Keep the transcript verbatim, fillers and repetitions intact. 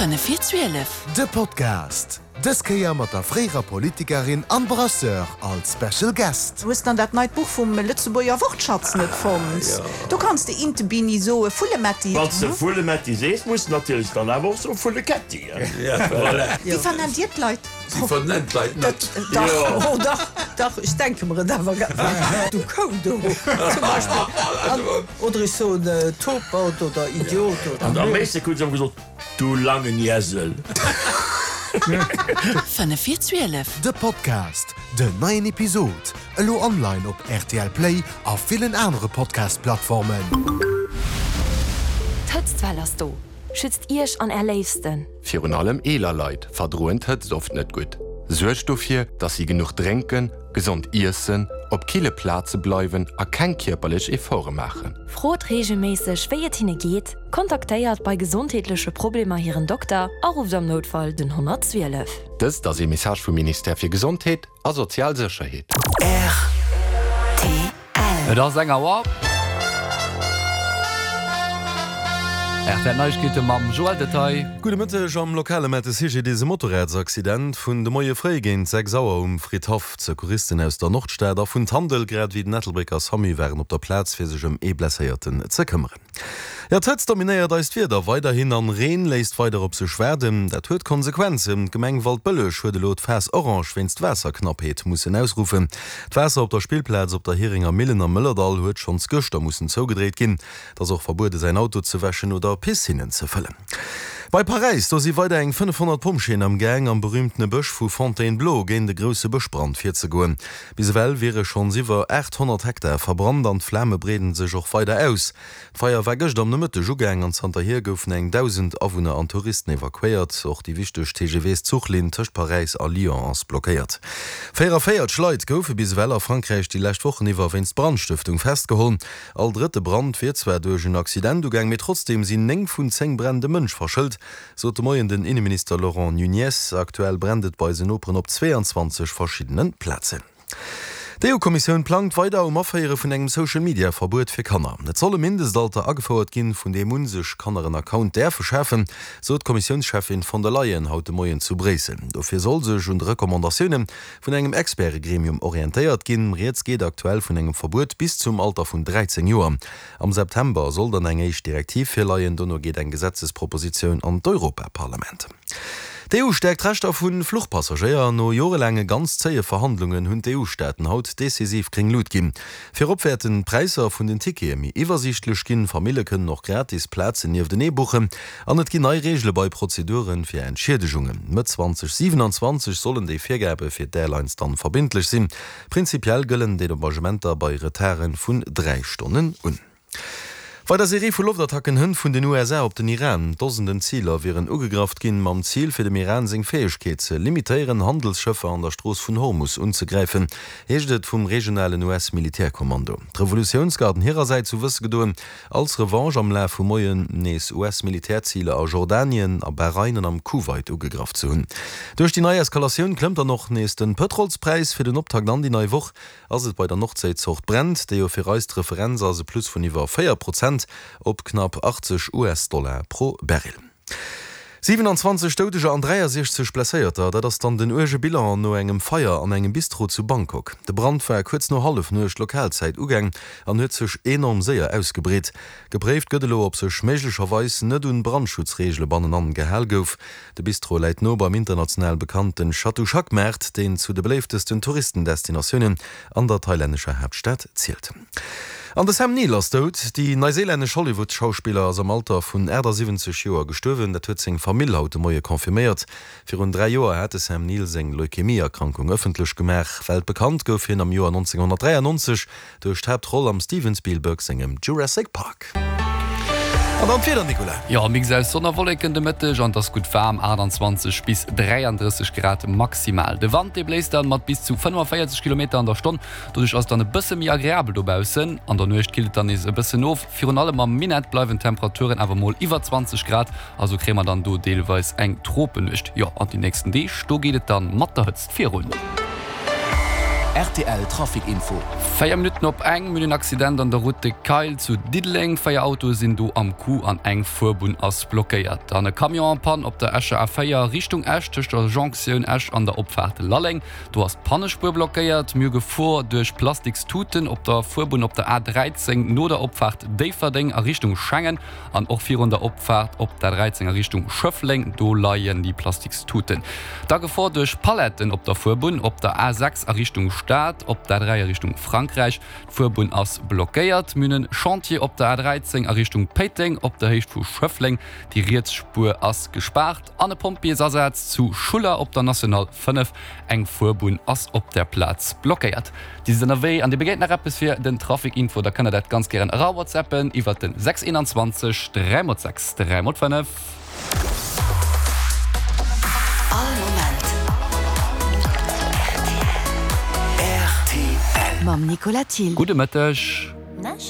Fënnef vir zwielef. De Podcast, dës Kéier mat der fréierer Politikerin an Brasseur als Special Guest. Hues dann dat neit Buch vum Lëtzebuerger Wortschatz net fonnt? Do kanns de Interbini soe, Vullemetti. Wann s de Vullemetti sees, muss de natierlech dann awer och soe Vulleketti. Wéi vernennt Dir d'Leit? Si vernennt d'Leit net. Dach, oh dach, dach, ech denke mer et awer. Du Kou do, zum Beispill. Oder ech soen Topert oder Idiot oder. An am meeschte krut se ëmmer gesot, Du langen Iesel. Fënnef vir zwielef. De Podcast, Den neien Episod elo online op rtl Play a villen anere Podcast-Plattformen. D'Hëtztwell ass do! Schützt Iech an Är Léifsten! Virun allem eeler Leit verdroen d'Hëtzt oft net gutt. Suergt dofir, dass si genuch drénken, gesond iessen, op kille Plaze bleiwen a keng kierperlech Efforte maachen. Frot reegelméisseg, wéi et hinne geet, kontaktéiert bei gesondheetleche Problemer hiren Dokter a rufft am Noutfall den honnertzwielef. Dëst ass ee Message vum Ministère fir Gesondheet a sozial Sécherheet. Rtl. Et ass eng Auer. R T L Neiegkeete mam Joël Detaille. Gudde Mëtteg. Am Lokale mellt de C G D S e Motorradsaccident vun de Moie fréi géint sechs Auer um Fridhaff. D'Secouristen aus der Nordstad a vun Tandel, grad ewéi den Ettelbrécker Samu waren op der Plaz fir sech ëm ee Blesséierten ze këmmeren. Jo, d'Hëtzt dominéiert eist Wieder weiderhin an Reen léisst weider op sech waarden. Dat huet Konsequenzen. D'Gemeng Waldbëlleg huet elo d'Phas Orange wéinst Waasserknappheet mussen ausruffen. D'Waasser op der Spillplaz op der Heringer Millen am Mëllerdall huet schonns gëschter mussen zougedréit ginn. Et ass och verbuede säin Auto ze wäschen oder Piscinnen ze fëllen. Bei Paräis, do si weider eng fënnefhonnert Pompjeeën am Gaang, am berüümtene Bësch vu Fontainebleau géint e grousse Bëschbrand virzegoen. Bis ewell wiere schonns iwwer aathonnert Hektar verbrannt an d'Flame breeden sech och weider aus. D'Feier war gëscht am Nomëtteg ugaang an zanterhier goufen eng dausend Awunner an Touristen evakuéiert. Och déi wichteg T G V-Zuchlinn tëscht Paräis a Lyon ass blockéiert. véieranvéierzeg Leit goufe bis ewell a Frankräich déi lescht Wochen iwwer wéinst Brandstëftung festgeholl. All drëtte Brand wier zwar duerch en Accident ugaang, mee trotzdeem sinn néng vun zéng Bränn de Mënsch verschëlt, sot de Moien den Inneminister Laurent Nunez. Aktuell brennt et bei eisen Noperen op zweeanzwanzeg verschiddene Plazen. D' E U-Kommissioun plangt weider um Aféiere vun engem Social-Media-Verbuet fir Kanner. Et soll e Mindestalter agefouert ginn, vun deem un sech Kanner en Account däerfe schafen, sot d'Kommissiounscheffin von der Leyen haut de Moien zu Bréissel. Dofir soll sech un de Recommandatioune vun engem Experte-Gremium orientéiert ginn. Rieds geet aktuell vun engem Verbuet bis zum Alter vun dräizéng Joer. Am September soll dann eng éischt Direktiv virleien, dono geet eng Gesetzespropositioun an d'Europaparlament. D' E U stäerkt d'Rechter vu Fluchpassagéier. No jorelaange ganz zéie Verhandlungen hunn d'E U-Staaten haut decisiv gréng Lut ginn. Virop wäerten d'Präisser vun den Tickete méi iwwersiichtlech ginn, Famille kënnen och gratis Plazen nieftenee buchen an et ginn nei Reegele bei Prozedure fir Entschiedegungen. Mëtt zweitausendsiebenundzwanzeg sollen déi Virgabe fir d'Airlines dann verbindlech sinn. Prinzipiell gëllen Dedommagementer bei Retarde vun dräi Stonnen un. Bei der Serie vu Loftattacken hënt vun den U S A op den Iran. Dosenden Ziler wieren ugegraff ginn, mam Ziel fir dem Iran seng Fäegkeet ze limitéieren, Handelsschëffer an der Strooss vun Hormus unzegräifen, heescht et vum regionalen U S-Militärkommando. D'Revolutiounsgarden hirersäits hu wësse gedoen, als Revanche am Laf vum Moien nees U S-Militärziler a Jordanien, a Bahrain an am Kuwait ugegraff ze hunn. Duerch déi nei Eskalatioun klëmmt dann och nees den Pëtrolspräis. Fir den Optakt an déi nei Woch ass et bei der Nordséizort Brent, déi jo fir eis d'Referenz ass, e Plus vun iwwer véier Prozent op knapp achtzeg U S-Dollar pro Barrel. Siewenundzwanzeg Doudeger an dräiasiechzeg Blesséierter, dat ass dann den uerge Bilan no engem Feier an engem Bistro zu Bangkok. De Brand war kuerz no Hallefnuecht Lokalzäit ugaang an huet sech enorm séier ausgebreet. Gepréift gëtt elo, ob sech méiglecherweis net un Brandschutzreegele bannenan gehal gouf. De Bistro läit no beim international bekannten Chatuchak-Maart, deen zu de beléiftesten Touristendestinatiounen an der thailännescher Haaptstad zielt. An de Sam Neill ass dout. Déi neuseelännesch Hollywood-Schauspiller ass am Alter vun achtundsiwwenzeg Joer gestuerwen. Dat huet seng Famill haut de Moie confirméiert. Virun dräi Joer hat de Sam Neill seng Leukämie-Erkrankung ëffentlech gemaach. Weltbekannt gouf hien am Joer neunzehnhundertdreiundneunzeg duerch d'Haaptroll am Steven Spielberg sengem Jurassic Park. An dann d'Wieder, Nicolas. Jo, Mix aus Sonn a Wolleken de Mëtteg an et ass gutt waarm, achtundzwanzeg bis dräianddrësseg Grad maximal. De Wand, dee bléist dann mat bis zu fënnefenvéierzeg Kilometer an der Stonn. Doduerch ass et dann e bësse méi agreabel dobaussen. An der Nuecht killt et dann nees e bëssen of. Virun allem am Minett bleiwen d'Temperaturen awer mol iwwer zwanzeg Grad. Also kréie mer dann do deelweis eng Tropennuecht. Jo, an déi nächsten Deeg, do geet et dann mat der Hëtzt virun. Rtl Trafic Info. Véier Minutten op eng, Mir hunn en Accident an der Route de Kayl zu Diddeleng. Véier Autoe sinn do am Coup an eng Fuerbunn ass blockéiert. Dann e Camion en Panne op der Escher A véier Richtung Esch tëscht der Jonktioun Esch an der Opfaart Lalleng. Do ass d'Pannespuer blockéiert. Mir hu Gefor duerch Plastikstuten op der Fuerbunn op der A dräizéng no der Opfaart Déifferdeng a Richtung Schengen an och virun der Opfaart op der dräizéng a Richtung Schëffleng. Do leien déi Plastikstuten. Da Gefor duerch Paletten op der Fuerbunn op der A sechs a Richtung Stad, op der A dräi a Richtung Frankräich. D'Fuerbunn ass blockéiert. Mir hunn e Chantier op der A dräizéng a Richtung Péiteng op der Héicht vu Schëffleng. Déi riets Spuer ass gespaart. An e Pompjeesasaz zu Schuller op der National fënnef. Eng Fuerbunn ass op der Plaz blockéiert. Dir sidd ënnerwee an Dir begéint nach eppes fir den Trafic Info, da kënnt der dat ganz gären erawhatsappen iwwert den sechs eenanzwanzeg dräi mol sechs dräi mol fënnef. All Moment rtl. Mam Nicolas Thill. Gudde Mëtteg.